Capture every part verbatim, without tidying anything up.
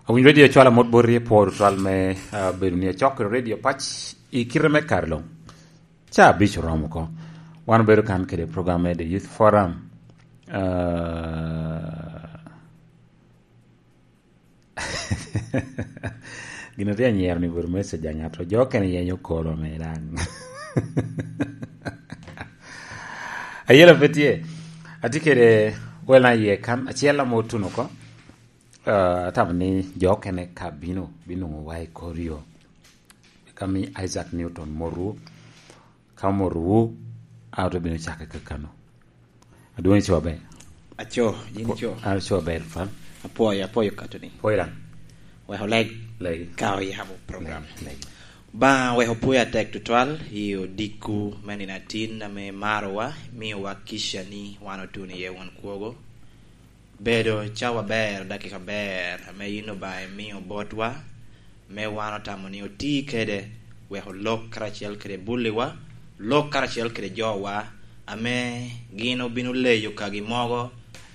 Awinyo redio cwalo amot boti i pworo twal me, ah, bedo ni acok kede redio pac i kite me kare luŋ. Ca abic oromo oko. Wan obedo kan kede program me The Youth Forum. Ah, gin atye anyero ni bot message a ŋato. Jo okene yenyo kolo me daŋ. Ayela pe tye. Atye kede wel na iye kan, acel ame otuno oko. Ah, atamo ni jo okene ka bino, binwoŋo wa i kor yo. Ka mi Isaac Newton motwu, ka omotwu, a ote bino cake kakano. Adwoŋ ico aber. Aco, yin ico. An aco aber, Fal. Apwoyo, apwoyo kato ni. Pwoyo daŋ. Wek oleg. Leg. Ka oyabo program. Leg, leg. Ba, wek opwoyo atek tutwal i odikku me nino atin ame marowa, miyowa kica ni wan otuno iye won kwogo. Bedo cawa aber, dakika aber, ame yin Obaŋa imio botwa, me wan otamo ni oti kede, wek olok karacel kede bulliwa, lok karacel kede jowa, ame gin obino leyo kagi mogo,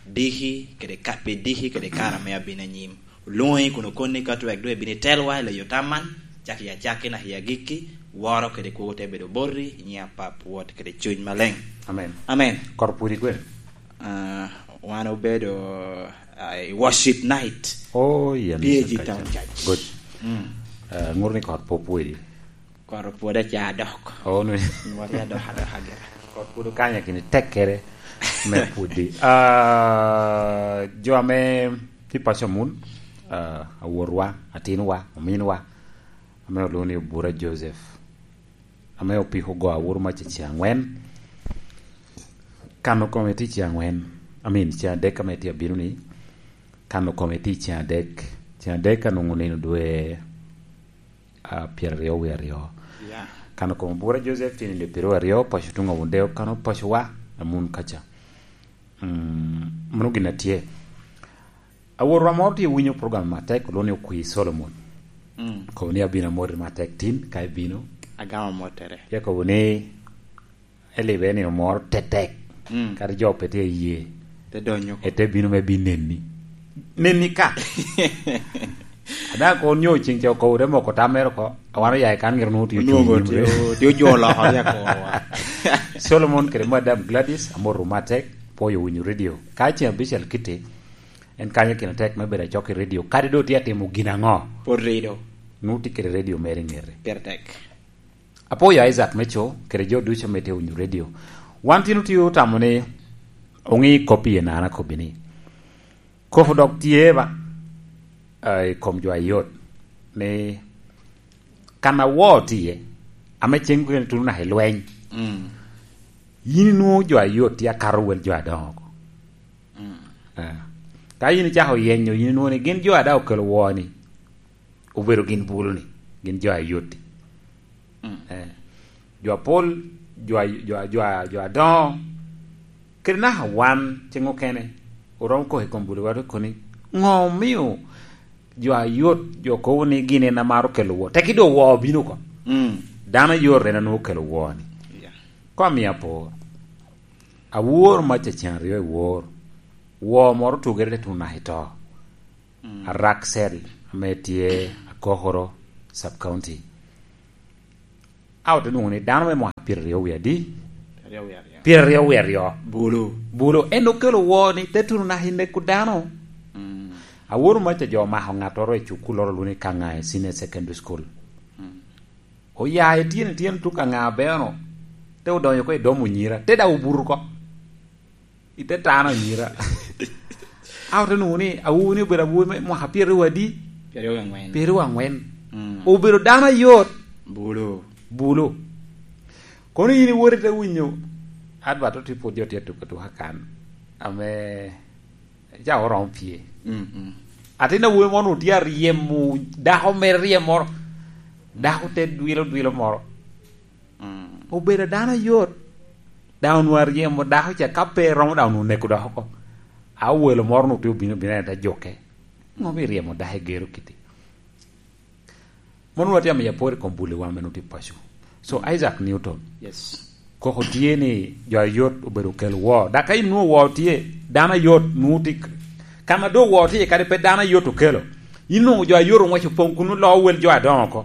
diki kede ka-, pi diki kede kare ame abino anyim. Olwoŋi kun okoni ka twek doŋ ibino itelwa i leyo tam man, cak i acakki naka i agikki, woro kede kwogo te bedo boti, i nyiŋ Apap, Wod kede Cuny Maleŋ. Amen. Amen. Kor pwodi kwene? Ah, wan obedo, ah, i worship night. Oh, yeah, P A G Town Church. Good. Mm. Ah, ŋuto ni kor pwod pwodi. Kor pwod aca dok. Oh, no. Nwari adok, adok agera. Kor pwod okanya kini tekkere me pwodi. Ah, jo ame tye paco mul, ah, awotwa, atinwa, ominwa, ame olwoŋo ni Obura Joseph. Ame opiko ogo aworo mac i ceng angwen. Kano kome tye i ceng angwen. I mean, ceng adek ame tye abino ni. Kano kome tye i ceng adek. Ceng adek anwoŋo nino dwe, ah, pyeraryo wie aryo. Yeah. Kano kome Obura Joseph tye nino dwe pyeraryo aryo, paco tuŋ awunde okano pacowa, amun kaca. Mm, mano gin atye. Awotwa moro tye winyo program matek, olwoŋo ni Okwi Solomon. Mm. Kobo ni abino amoti matek tin, ka ibino. Agamo mottere. Ya kobo ni elibe ni omoro tetek. Mm. Kadi jo pe tye iye. Te donyo oko. Ete bino me bi neni. Neni ka. Ada ko nyo cing ca okobo te moko tam mere oko. Awano ya i kan gire nwoŋo tye Onwoŋo ocung i nyim tye, tye ojo loko ya korowa. Solomon kede Madam Gladys, amoro matek, pwoyo winyo radio. Ka ceng abicel kitti, en kanyo kine tek me bedo acok i radio. Kadi doŋ tye atimo gin aŋo? Pwod rido. Nwoŋo tye kede radio mere i ŋete. Pire tek. Apwoyo Isaac me co, kede jo ducu ame tye winyo radio. Wan tin otye otamo ni oŋi kop i enana kobbi ni. Kop dok tye ba, ah, i kom jo ayot, ni kan awor tye, ame ceng kene tuno naka i lweny. Mm. Yin inwoŋo jo ayot tye akato wel jo adoŋo oko. Mm. Ah. Ka yin icako yenyo, yin inwoŋo ni gin jo a daŋ okelo wor-ni, obedo gin bulu-ni, gin jo ayot-ti. Mm. Eh. Jo apol, jo a-, jo a-, jo a-, jo adoŋo, kede naka wan, ceng okene, oromo kok i kom bulu, wato koni, ŋo omio jo ayot, jo kobo ni gin en amaro kelo wor? Teki doŋ wor obino oko. Mm. Dano ayot en anwoŋo kelo wor-ni. Yeah. Kono amio apor. Awor mac a ceng aryo i wor. Wor moro otugere te tuno naka i to. Mm. Araksel, ame tye Akokoro Sub County. A ote nwoŋo ni dano me mwaka pyeraryo wie adi? Pyeraryo wie aryo. Pyeraryo wie aryo. Bulu. Bulu. En okelo wor-ni te tuno naka i neko dano. Mm. Awor mac a jo omako ŋattoro i cukulloro lwoni Kaŋa i Senior Secondary School. Mm. Oya i tyen, i tyen tuk Kaŋa beno. Te odonyo oko i dom onyira. Te daŋ obuto oko. I te tano anyira. A ote nwoŋo ni awobi ni obedo awobi me mwaka pyeraryo adi? Pyeraryo angwen. Pyeraryo angwen. Mm. Obedo dano ayot. Bulu. Bulu. Kono yin iwot ite winyo advert otye pwod jo tye atuko atuka kan. Ame ca oromo pye. Mm, mm. Atin awobi moro tye aryemo dako mere ryemo moro. Dako te dwilo dwilo moro. Mm. Obedo dano ayot. Daŋ onwoŋo aryemo dako ca, ka pe eromo daŋ onwoŋo oneko dok oko. A welo moro onwoŋo tye obino, obino en te juke. Ŋo mi ryemo dako i gero kiti? Mono watye amiyo apor i kom buli wan me nwoŋo tye paco. So, Isaac Newton. Yes. Koko tye ni jo ayot obedo okelo wor. Dok ka inwoŋo wor tye, dano ayot nwoŋo tye k-, ka ma doŋ wor tye, kadi pe dano ayot okelo. Inwoŋo jo a yot oŋwec opoŋ kun oloo wel jo adoŋo oko.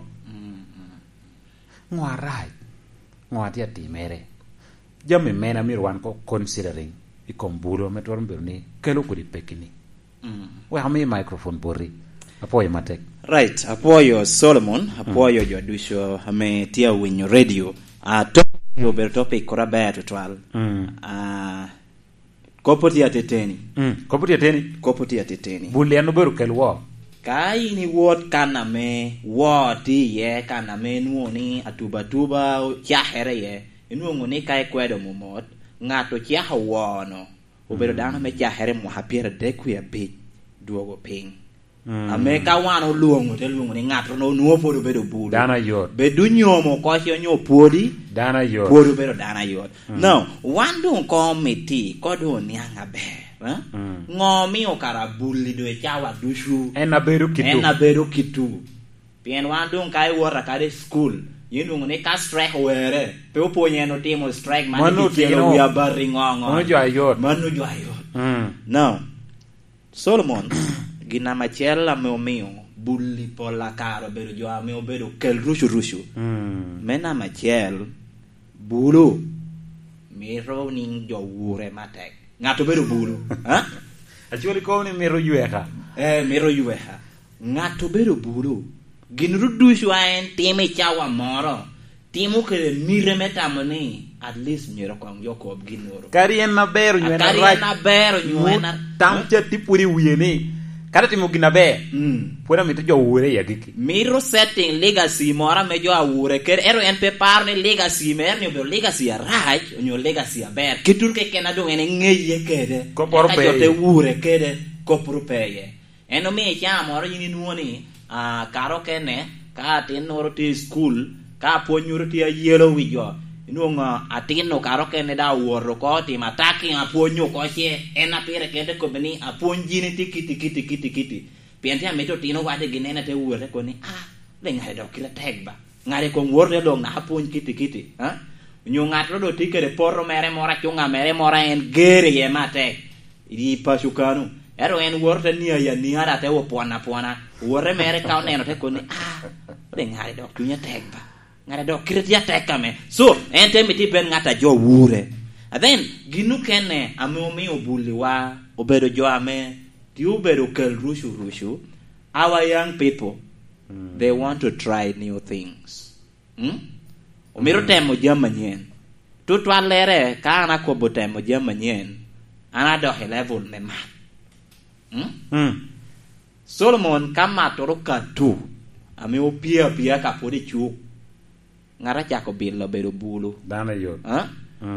Ŋo arac? Ŋo a tye atimere? Jami mene a myero wan ko considering i kom bulu ame twero bedo ni kelo kodi pekki-ni? Wek ami microphone boti. Apwoyo matek. Right, apwoyo Solomon, apwoyo jo ducu ame tye awinyo radio. Ah, topic obedo topic kura aber tutwal. Ah, kop otye ateteni. Mm, kop otye ateni. Kop otye ateteni. Bul en obedo kel wo. Ka in iwot kan ame wo tye iye, kan ame inwoŋo ni atuba atuba cakere iye, inwoŋo ni ka ikwedo momot, ŋat ocako wono, obedo dano me cakere mwaka pyeradek wie abic, dwogo piny. Ame ka wan olwoŋo, te lwoŋo ni ŋat onwoŋo pwod obedo bulu. Dano ayot. Bed onyomo koci onyo pwodi, dano ayot. Pwod obedo dano ayot. Now, wan doŋ koŋ omiti, ko doŋ oniaŋ aber. Eh? Ŋo omio kara buli doŋ i cawa ducu? En abedo kitu. En abedo kitu. Pien wan doŋ ka iwota kadi i cukul, yin doŋ ni ka strike owere, pe opwony en otimo strike, man mano kicelo otino. Wi abati ŋo ŋo. Mano jo ayot. Mano jo ayot. Now, Solomon, gin namba acel ame omio buli pol akare obedo jo ame obedo kel rucu rucu. Me namba acel, bulu mito niŋ jo wure matek. Ŋat obedo bulu, ha? Actually, kono ni mito yweka. Eh, mito yweka. Ŋat obedo bulu. Gin ru ducu a en timo i cawa moro, timo kede mite me tamo ni at least myero koŋ jo kob ginnoro. Kadi en aber onyo en arac, kadi en aber onyo en ar-, tam ca tye pwod i wie ni, kadi timo gin aber, pwod amito jo wure i agikki. Mito setting legacy moro ame jo awure kede, ento en pe paro ni legacy mere ni obedo legacy arac onyo legacy aber. Kit wunu keken a doŋ en eŋeye kede. Kopporo pe iye. Eka jo te wure kede, kopporo pe iye. En omio i cawa moro yin inwoŋo ni, ah, kare okene, ka atinnoro tye i cukul, ka apwonnyoro tye ayelo wi jo, inwoŋo atin-nu kare okene daŋ owoto oko otimo attacking apwony oko ce, en a pire kede kobbe ni, "Apwony gini tye kiti, kiti, kiti, kiti." Pien tye amito otino wadde gin en ate wot ate kobo ni, "Ah, le ŋatte dok kite tek ba." Ŋatte koŋ wot ate dok naka apwony kiti, kiti, ha? Onyo ŋattoro dok tye kede poto mere moro, acunga mere moro, en ger iye matek. I paco kano. Ento en woto te nio ya nia, da te wo pwon apwona. Wote mere ka oneno te koni, "Ah, de ŋatte dok cunye tek ba. Ŋatte dok kite tye atek ame." So, en te mito ibed ŋat a jo wure. And then, gin okene ame omio buliwa obedo jo ame tye obedo kel rucu rucu, our young people, they want to try new things. Mm? Omito temo jami anyen. Tutwallere, ka an akobo temo jami anyen, an adok i level me mat. Mm? Solomon, ka mattoro katu, ame opie apia ka pwod icuk, ŋat acako bilo bedo bulu. Dano ayot. Ha?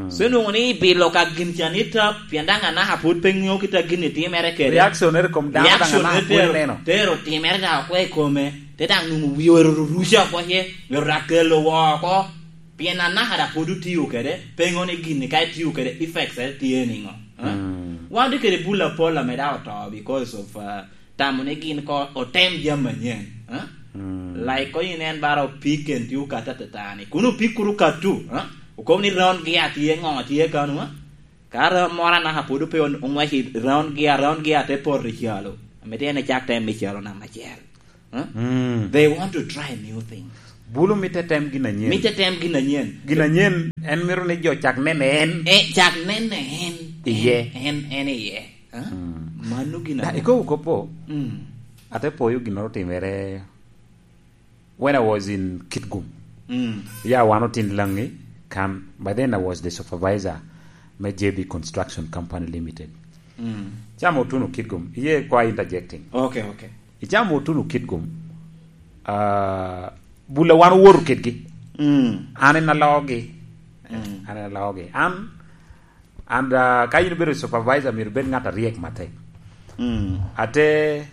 So, inwoŋo ni bilo ka gin ca ni tap, pien daŋ anaka pwod pe ŋeo kit a gin itimere kede. Reaction ere kom dano daŋ anaka pwod ineno. Tero timere daŋ oko i kome, te daŋ nwoŋo wie ero ruruca oko ce, ero daŋ kelo woo oko. Pien anaka daŋ pwod otio kede, pe ŋeo ni gin ka itio kede, effects ere tye niŋo. Ha? Wan tye kede bul apol ame daŋ oto because of, uh, tamo ni gin ko otem jami anyen, eh? Like ko yin en bara opik en tye okato atatani. Kun opik kuru katu, eh? Okobo ni round gear tye, ŋo tye kano, eh? Ka round moro anaka pwod pe on-, oŋwec i round gear, round gear te poto i calo. Amito en ecak tem me calo namba acel. Eh? They want to try new things. Bulu mitte tem gin anyen. Mitte tem gin anyen. Gin anyen, en mito ni jo cak nene en. Eh, cak nene en. Iye. En, en, en iye. Eh? Mano gin ame ikobo kop po. Ate poyo ginnoro otimere when I was in Kitgum. Ya, wan otin Langi kan. By then I was the supervisor me J B Construction Company Limited. Ca me otuno Kitgum. Iye kwa interjecting. Okay, okay. I ca me otuno Kitgum, ah, bula wan owoto kedgi. An en alogi. An en alogi. An And, ah, ka in ibedo supervisor, myero ibed ŋat aryek matek. Ate,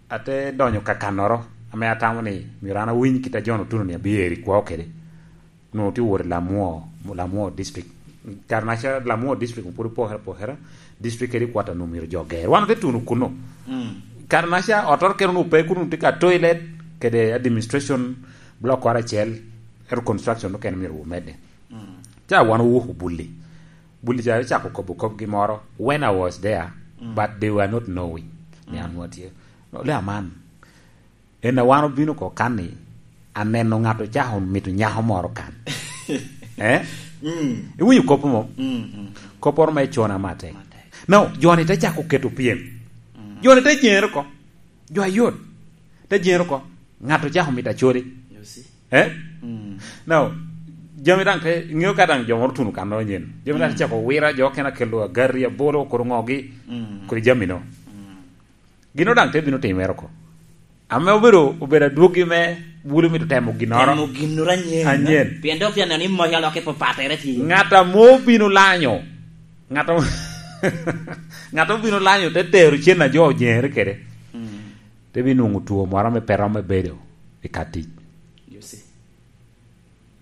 ate donyo kakannoro ame atamo ni myero an awiny kit a John Otuno ni abiyero i kwao kede. Nwoŋo tye wot i Lamwo, Lamwo district. Kare naca Lamwo district pwod opokere apokera, district kede quarter nwoŋo myero jo ger. Wan ote tuno kuno. Kare naca ottoro kene onwoŋo pe kuno, tye ka toilet kede administration block kore acel, ero construction okene myero wumedde. Ca wan owuko bulli. Bulli ca cako kobo kopgi moro when I was there, but they were not knowing ni an nwa tye. No, le aman, En a wan obino oko kan ni, aneno ŋat ocako mito nyako moro kan. Eh? Mm. Iwinyo kop mo? Mm, mm. Kopporo me cona matek. Matek. No, jo-ni te cako keto pyem. Mm. Jo-ni te jere oko. Jo ayot. Te jere oko. Ŋat ocako mito acodi. You see? Eh? Mm. No, jami daŋ te, ŋeo ka daŋ jo moro tuno kan nonyen. Jami daŋ te cako wira, jo okene akelo agari, abolo, kodi ŋogi, mm, kodi jami no. Mm. Gino daŋ te bino timere oko. Ame obedo, obedo adwogi me bulu mito temo ginnoro. Temo ginnoro anyen. Anyen. Pien dok tye aneno ni moc alok i papatere tye. Ŋat ame obino lanyo. Ŋat ame, ŋat ame obino lanyo te tero cen a jo ojere kede. Mm. Te bino nwoŋo two moro ame pe romo bedo i ka tic. You see.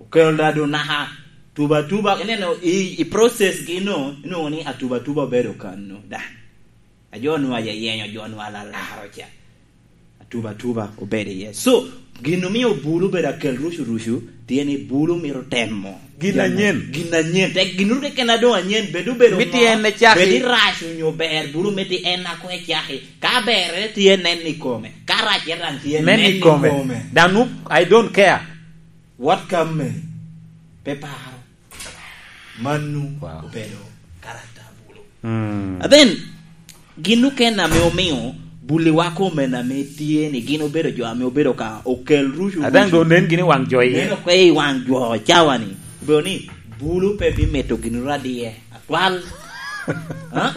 Okelo da doŋ naka tuba tuba, ineno i, i process gi no, inwoŋo ni atuba tuba obedo kano da. A jo nwa yayenyo, jo nwa lalaro ca. Atuba tuba obedo iye. So, gin omio bulu obedo akel rucu rucu, tye ni bulu mito temo. Gin anyen. Gin anyen. Tek gin keken a doŋ anyen, bed obedo ŋo, en ecaki. Bed irac onyo ber, bulu miti en ako ecaki. Ka berre tye nen i kome, ka racce daŋ tye nen i kome. Nen i kome. Daŋ nu-, I don't care. Wat ka me, pe paro. Manu, wow, obedo karakta a bulu. Mm. And then, gin okene ame omio buliwa kome ame tye ni gin obedo jo ame obedo ka okel rucu. Adaŋ rucu. Doŋ nen gini waŋ jo iye. Neno kwe i waŋ jo cawa ni. Obedo ni bulu pe bimito gin radiye. Atwal. Ha?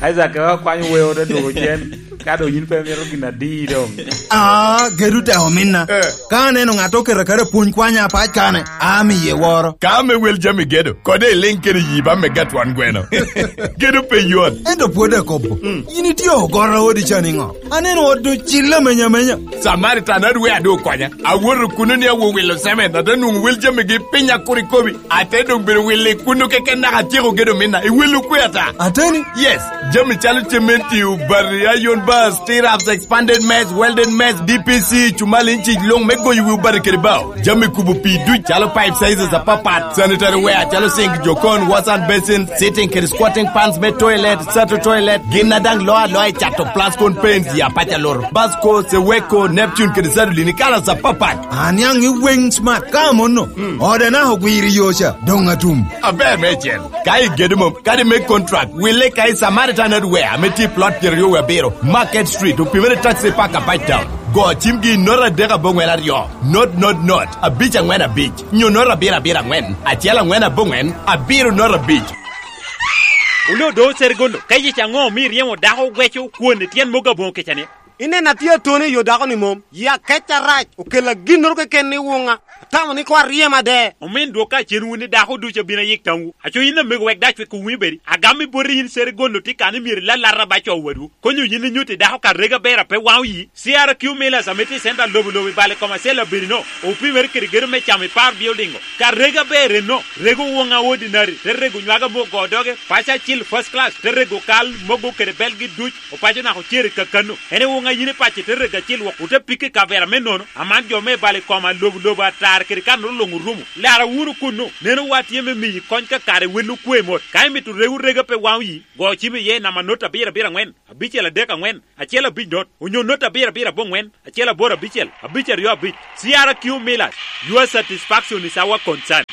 Isaac, ka kwanyo weo te dwogo cen, ka doŋ yin pe mito gin adi doŋ. Ah, gedo te ominna. Eh. Ka aneno ŋat oketo aketa pwony kwanya apac kane, amiye woro. Ka ame wel jami gedo, kode iliŋ kede yi ba mega twon gweno. Gedo pe yot. Ento pwod akobo. Mm. Yin itye ogoro odi ca niŋo? Aneno ot doŋ cille amenya amenya. Samaritan adwe adu okonya. Awoto kuno ni awo wilo semen, ate nwoŋo wel jamigi piny akur ikobi. Ate doŋ bedo wille kuno keken naka atyeko gedo minna. Iwelo kwe ata? Ateni? Yes. Jami calo cementi, obati, iron bars, stirrups, expanded mess, welded mess, D P C, cumal inci luŋ me goyo wi obati kede bao. Jami kubo pii duc calo pipe sizes apapat, sanitary ware calo sink, jokon, wash and basin, sitting kede squatting pans me toilet, sato toilet, gin a daŋ loo aloa i cato plascon paints ya paca loro, Basco, Seweko, Neptune kede Sadolin i kalas apapat. Aniaŋ i weng smart ka amono. Mm. Ode naka ogwiro i yo ca, doŋ atum. Aber meicel. Ka igedo mom, kadi me contract, wille ka i Samaritan Hardware ame tye i plot pyeraryo wie abiro, Market Street, opimere taxi park apac town. Go cimgi i note adek aboŋwen aryo, note, note, note, abic aŋwen abic, nyo note abiro abiro aŋwen, acel aŋwen aboŋwen, abiro note abic. Oloo do Serigondo, ka yic aŋo omio iryemo dako ogweco kwon i tyen mogo aboŋo kica ni? Ineno atye atoni i yo dako-ni mom, yi akec arac, okella ginnoro keken i wuŋa. Atamo ni koŋ aryem ade. Omin dwok ka cen wun ni dako ducu abino ayik tamwu. Aco yin amego wek dac wek owinyo bedi. Agam i boti yin Serigondo tye kan ni myero ilalata ba co wadwu. Konyo yin inyutti dako ka rega ber a pe waŋo yi. C R Q Millers ame tye i center lobo lobo i bal i kom acel abedi no. Opimere kede gedo me camo i par building o. Ka rega ber enno, rego wuŋa ordinary, te rego nywaga me ogo doge, paco acil first class, te rego kal, mogo kede belgi duc, opaco naka ocer i kakano. En i wuŋa yin i paco te rego acil wok, ote pikke i kavera me nono, aman jo me bal i koma lobo lobo atar kede kanoro luŋ orumo. Lara wunu kunnu, neno wa tye me miyi kony ka kare wel okwe mot. Ka imito rego rega pe waŋo yi, go cim iye i namba not abiro abiro aŋwen, abicel adek aŋwen, acel abic not, onyo not abiro abiro aboŋwen, acel aboro abicel, abic aryo abic. C R Q Millers, your satisfaction is our concern.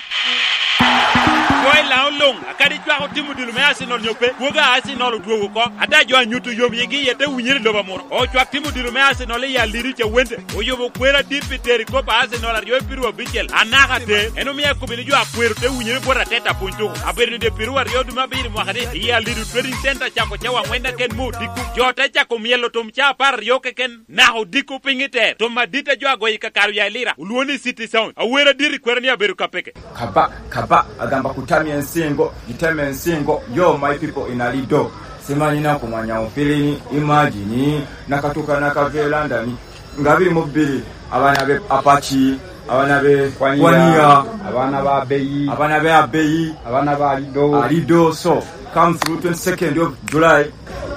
Kwo i Laŋo luŋ, akadi cwako tim odilo me Arsenal nyo pe, kwogo a Arsenal odwogo oko. Ada jo a nyuto yom yigi iye te winyere i lobo amuro. Ocwak tim odilo me Arsenal i Alidu Cawende. Oyubo kwer adit pi tero i kop a Arsenal aryo i piru abicel. Anaka te, en omio akobo ni jo akwero te winyere bot Arteta pwony tuko. Abedo ni dye piru aryo dwe me abiro mwaka ni, i Alidu Trading Center cako cawa aŋwen aken me odiko. Jo te cako myelo tum ca apar aryo keken. Naka odiko piny i ter, tum adit a jo agoyo i kakare oya i Lira, olwoŋo ni City Sound. Awer adit i kwero ni abedo ka peke. Kaba, kaba, agamba kutami ensingo, giteme ensingo, yo my people in Alido. Simanyi na kumanya ufilini, imagine, nakatuka nakavelandani. Nga biri mu biri, abaana be Apache, abaana be Kwania, abaana ba Abeyi, abaana be Abeyi, abaana ba Alido. Alido, so, Come through twenty-second of July.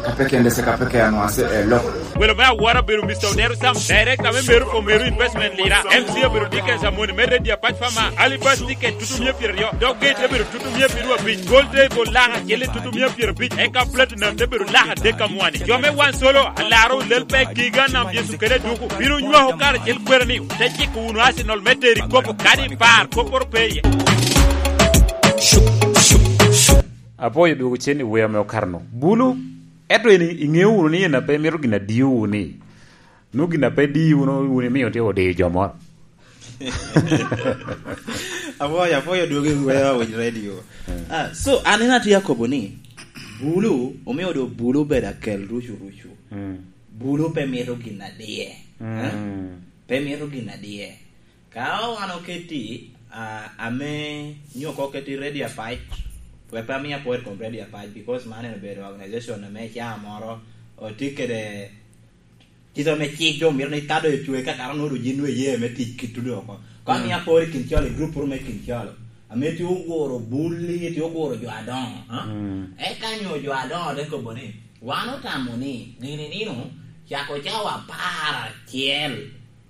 Kapekende se kapeke anwase e lok. Welo me awora bedo Mister Odero Sam, director me Meru for Meru Investment Lira. M C obedo Dickens Amoni me Radio Apac Fama. Alibas ticket tutumia pyeraryo. Dog gate te bedo tutumia pyeraryo abic. Gold te bol laka kele tutumia pyerabic. Eka platinum te bedo laka adek amwani. Jo me wan solo, alaro lel pe giga nam Yecu kede duku. Bino nywako kare cel kwera ni, te ciko wunu Arsenal me teri kopo kadi par, koporo pe iye. Apwoyo dwogo cen i wer ame okato-nu. Bulu, ento en i-, iŋeo wunu ni en ape mito gin adiyo wunu ni, nwoŋo gin ape diyo wunu, wun imio tye odiyo jo moro. Apwoyo, apwoyo dwogo i wer awiny radio. Mm. Ah, so, an en atye akobo ni, bulu, omio do bulu bedo akel rucu rucu. Mm. Bulu pe mito gin adiye. Mm. Eh? Pe mito gin adiye. Ka wan oketi, ah, ame nyo ko oketi Radio Apac, wek pe amia apor i kom Radio Apac, because man en obedo organization ame ca moro otye kede kite ame cik jo mito ni ka doŋ ecwe ka kato nwoŋo doŋ yin nwoŋo iye me tic ki tudo oko. Ka amia apor i kin calo, i group ru me kin calo, ame tye oguro bulli, tye oguro jo adoŋo, ha? Mm. Eka nyo jo adoŋo te kobo ni, wan otamo ni gini nino cako cawa apar acel,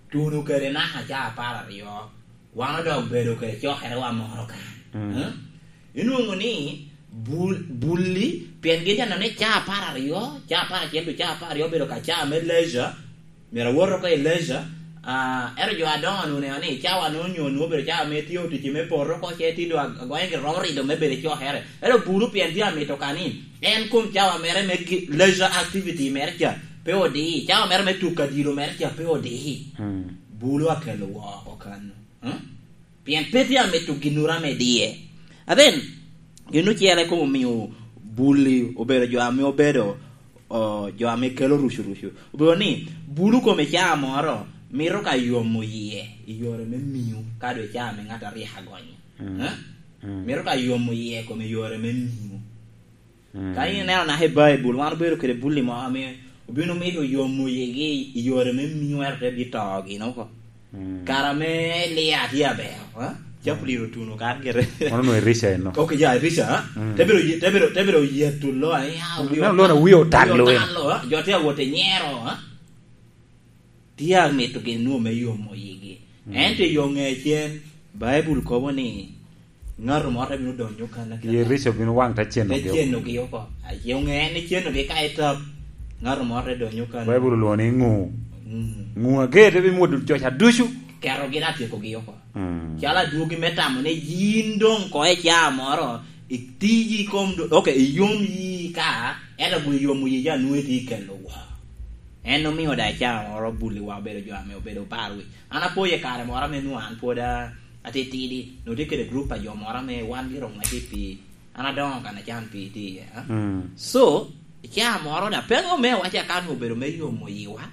tuno kede naka ca apar aryo, wan odok bedo kede cokerewa moro kan. Mm. Eh? Inwoŋo ni bul-, bulli, pien gin tye neno ni ca apar aryo, ca apar acel, ca apar aryo obedo ka ca me leisure, myero awot oko i leisure, ah, ento jo adoŋo onwoŋo oneno ni cawa nwoŋo onyo nwoŋo obedo cawa me tye otic me poto oko, ce tye doŋ ag-, agonyo gin romo rido me bedo i cokere. Ento bulu pien tye amito ka ni, en kom cawa mere me gi-, leisure activity mere ca, pe odi, cawa mere me tuk adilo mere ca, pe odi. Hmm. Bulu akelo woko kan. Hmm? Pien pe tye amito ginnoro ame diye. And then, gin ocele kono omio bulli obedo jo ame obedo, o, jo ame kelo rucu rucu. Obedo ni, bulu kome ca moro mito ka yomo yie i yore me miu, ka doŋ ca ame ŋat aryek agonyo. Mm. Eh? Mm. Mito ka yomo yie kome i yore me miu. Mm. Ka in ineno naka i Baibul, wan obedo kede bulli mo ame obino mito yomo yigi i yore me miu, ento te bito gin oko. Mm. Kara me Elia tye aber, ha? Capulir otuno kara gire. Mano no Elisha eno. Ok, ya, Elisha, ha? Mm. Te biro ye-, te biro, te biro yeto lo, eh, ya, neno lo na wie otalo, eh. Otalo, ha? Jo tye awot i nyero, ha? Tye amito gin nwoŋo me yomo yigi. Mm. Ento i yo ŋe cen, Baibul kobo ni, ŋato moro te bino donyo kan, kan. Ye Elisha obino waŋ te cenogi oko. Te cenogi oko. Aye oŋe ni cenogi ka etap, ŋato moro te donyo kan. Baibul olwoŋo ni ŋu. Mm. Ŋu ager te bimwodo joca ducu. Ketogi te tyekogi oko. Mm. Calo adwogi me tamo ni yin doŋ ko i caa moro, itiyi i kom do-, ok, iyom yi ka, ento bwi yomo yi ja nwoŋo itye ikelo woko. En omio da i caa moro bulliwa obedo jo ame obedo par wic. An apoyo i kare moro ame nwoŋo an pwod a-, atitidi, nwoŋo tye kede group a jo moro ame wan gire oŋwec i pii. An adoŋo kan acan pii tye iye, a? Mm. So, i caa moro da, pe anwoŋo me awaca ka nwoŋo obedo me yomo yiwa,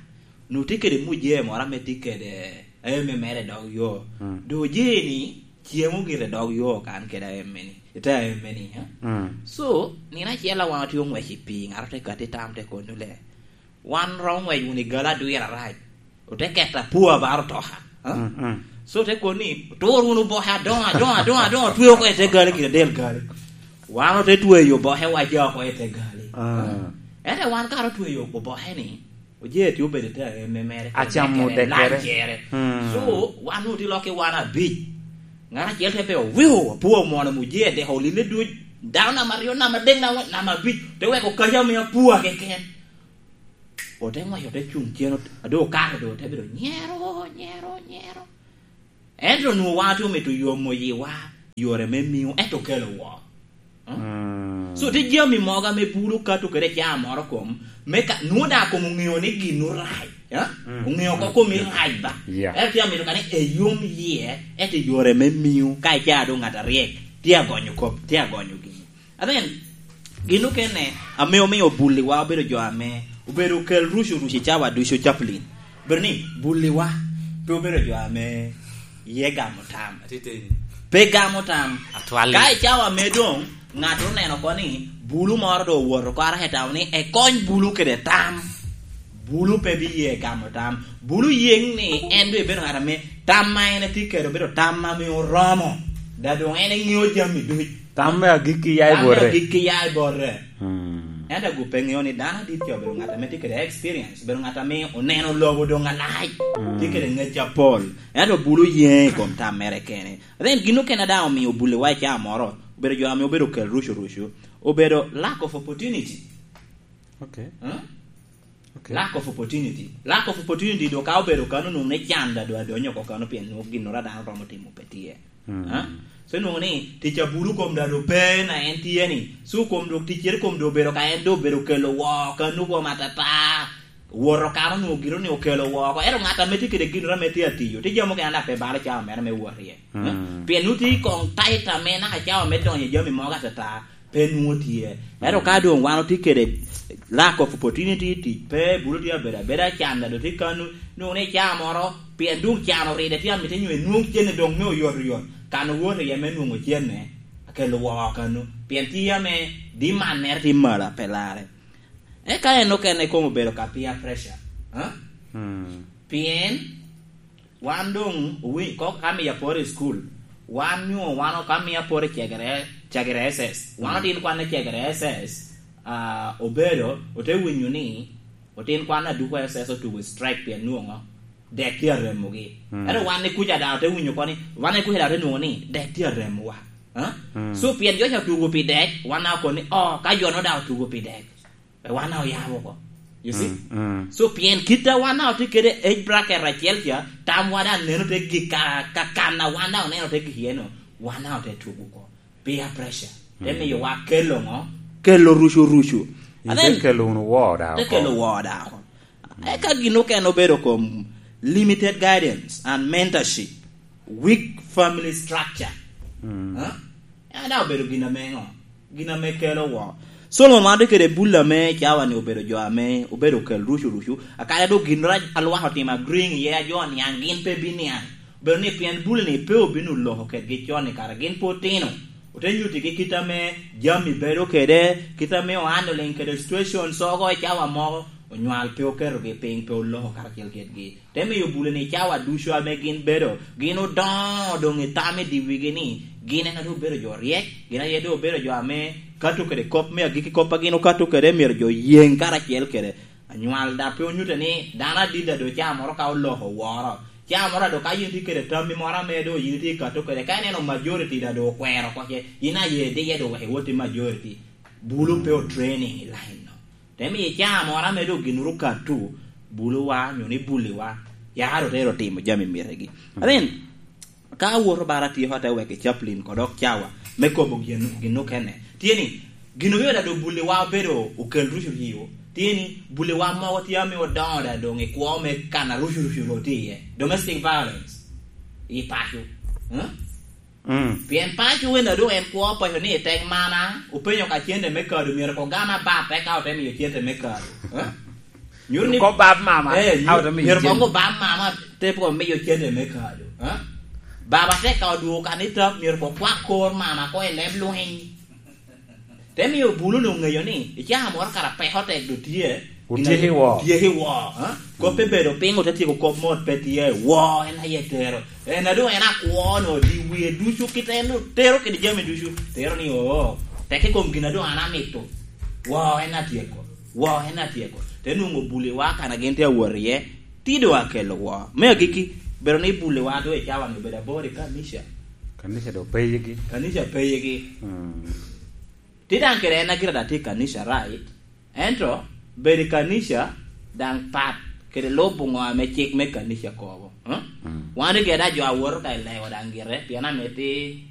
nwoŋo tye kede mujee moro ame tye kede, aye me mere dog yo. Mm. Doŋ ojee ni, cemo gire dog yo kan kede aye meni, ite aye meni, a? Mm. So, nino acel a wan otye oŋwec i pii, ŋat ote kati tam te kono le. Wan romo ŋwec wunu i gali adwir arac. Ote keto apua ba otoka, a? Mm, mm. So te kono ni, "Tur wunu oboke adoŋo, adoŋo, adoŋo, adoŋo, otwe oko i te gali gire del gali." Wan ote tweyo oboke wa ca oko i te gali. Ah. Ento wan kara otweyo oboke ni, ojee tye obedo i te eme mere, acamo kede dekere. Lancere. Mm. So, wan otye lok i wan abic. Ŋat acel te pe, "Wiu, apua omwono mujee deko olile duc. Dano namba aryo, namba adek, namba, namba abic." Te weko kaca me apua keken. Ote ŋwec, ote cuŋ cen, ot-, a doŋ okato, doŋ ote bedo nyero, nyero, nyero. Ento onwoŋo wan otye omito yomo yiwa, yore me miu, ento okelo woo. Hmm? Mm. So, tye jami mogo ame bulu kato kede caa moro kom, me ka, nwoŋo daŋ kom oŋeo ni gin orac, eh? Mm. Oŋeo oko kom irac ba. Yeah. Ento tye amito ka ni eyom yie, ento yore me miu, ka icaa doŋ ŋat aryek, tye agonyo kop, tye agonyo gini. Amen. Gin okene ame omio bulliwa obedo jo ame obedo okel rucu rucu i cawa ducu, Chaplain. Obedo ni bulliwa pe obedo jo ame ye gamo tam. Atiteni. Pe gamo tam. Atwal. Ka i cawa me doŋ, ŋat oneno oko ni bulu moro doŋ owoto oko araka i tawo ni ekony bulu kede tam. Bulu pe biye gamo tam. Bulu yeŋ ni en doŋ ebedo ŋat ame tam ma en etye kede obedo tam ame oromo. Da doŋ en eŋeo jami duc. Tam me agikki ya i Tam me bote. Agikki ya i bote. Mm. Ento agube ŋeo ni dano adit ca obedo ŋat ame tye kede experience, obedo ŋat ame oneno lobo doŋ alac, Mm. tye kede ŋec apol. Ento bulu yen i kom tam mere kene. Then gin okene daŋ omio bulewa i caa moro, obedo jo ame obedo kel rucu rucu, obedo lack of opportunity. Okay. Huh? Okay. Lack of opportunity. Lack of opportunity do ka obedo kano nung ne can da do adonyo ko kano pien nung gin ora dano romo timo pe tye. Mm. Huh? So nung ni tic abulu kom da do pe na en tye ni. So kom do tic ere kom do obedo ka en do obedo kelo wo kano kom atata. Woto kano nung gino ni okelo wo ko. Ero ŋat ame tye kede gin ora me tye atiyo. Tye jamo kena da pe balo cawa mere me wot iye. Huh? Mm. Pien nung tye kong taita me naka cawa me donyo i jami mogo atata. Pe nwoŋo tye. Ento ka doŋ wan otye kede lack of opportunity, tic pe, bulu tye abedo abeda, can da doŋ tye kano, nwoŋo ni caa moro, pien doŋ can oride tye amito nyo enwoŋ cene doŋ me oyotoyot, kan owoto iye me nwoŋo cene, akelo woko kano, pien tye ame demand mere tye malo pe larre. Eka en okene komo obedo ka peer pressure, ha? Hmm. Pien wan doŋ owi-, ko-, ka miyo aporo i cukul, wan nyo wan ka miyo aporo i cegere, cegere S S. Wan Mm. otin kwan i cegere S S, ah, obedo, ote winyo ni, otin kwan aduko S S otugo strike pien nwoŋo dek tye aremogi. Mm. Ento wan ni kuca daŋ ote winyo ko ni, wan ni kuca daŋ ote nwoŋo ni dek tye aremowa. Ha? Mm. So, pien jo ca otugo pi dek, wan daŋ okobo ni, "Oh, ka jo-nu daŋ otugo pi dek." Pe wan daŋ oyabo oko. You see? Mm, mm. So, pien kit a wan daŋ otye kede age bracket acel ca, tamwa daŋ neno te gik ka, ka kan a wan daŋ oneno te gik iye-nu, wan daŋ ote tugo oko. Peer pressure. Te Mm. miyo wa kelo ŋo? Kelo rucu rucu. And then, kelo wunu wo daŋ te oko. Kelo wo daŋ oko. Mm. Eka gin okene obedo kom limited guidance and mentorship, weak family structure. Mm. Ha? En daŋ obedo gin ame ŋo? Gin ame kelo wo. Solomon man tye kede bul ame cawa-ni obedo jo ame obedo okel rucu rucu. Akanya dok gin rac a lwak otimo agreeing iye, a jo oniaŋ gin pe biniaŋ. Obedo ni pien bul-ni pe obino loko kedgi con i kare gin pe otino. Ote nyuttigi kit ame jami bedo kede, kit ame ohandling kede situation ogo i cawa mogo, onywal pe oketogi piny, pe oloko karacel kedgi. Te miyo bule ni cawa ducu ame gin bedo, gin odoŋo doŋ i tam i dye wigi ni, gin en a doŋ obedo jo ryek, gin aye doŋ obedo jo ame kato kede kop me agikki, kop a gin okato kede myero jo yeŋ karacel kede. Anywal daŋ pe onyutte ni dano adit a doŋ caa moro ka oloko woro. Caa moro a doŋ ka yin itye kede tammi moro ame doŋ yin itye kato kede, ka ineno majority daŋ doŋ okwero oko ce, yin aye diye doŋ wek iwot i majority. Bulu pe o training i line no. Te miyo caa moro ame doŋ gin ru katu, buluwa, nyo ni buliwa, yaro te ero timo jami mitegi. Mm. Amin, ka awoto bara atyeko ate weko i caplin kod dok cawa, me kobo gin, gin okene. Tye ni, gin obedo da doŋ buliwa obedo okel rucu riwo. Tye ni, buliwa mogo tye ame odoŋo da doŋ i kwo me kan a rucu rucu ro tye iye. Domestic violence. I paco. Huh? Mm. Pien paco wen a doŋ en kwo paco ni i tek mana, openyo ka cente me kado, myero ko gama bat, eka ote miyo cente me kado. Eh? Nyuto ni kop bab mama, eh, ka ote miyo myero cente. Ko bab mama, te ko miyo cente me kado. Eh? Baba te ka odwogo kanita, myero ko kwak kor mama ko i leb lweny. Te miyo bulu ni oŋeyo ni, i caa moro kara peko tek do tye, otyeko i wo. Otyeko i wo, ha? Kop pe bedo piny, ote tyeko kop mot pe tye, wo, en aye tero. En a doŋ en akwo no, di wie ducu kit en doŋ tero kede jami ducu, tero ni, "Oo, tek i kom gin a doŋ an amito. Wo, en atyeko. Wo, en atyeko." Te nwoŋo buliwa kan a gin tye awot iye, ti doŋ akelo wo. Me agikki, bedo ni buliwa doŋ i cawa-ni obedo abor i kanica. Kanica doŋ peyigi. Kanica peyigi. Mm. Ti daŋ kede en a gira daŋ tye i kanica, right? Ento bedo i kanica daŋ pat kede lubo ŋo ame cik me kanica kobo, eh? Mm. Wan ri geda jo a woto ka i lewa daŋ gire, pien amiti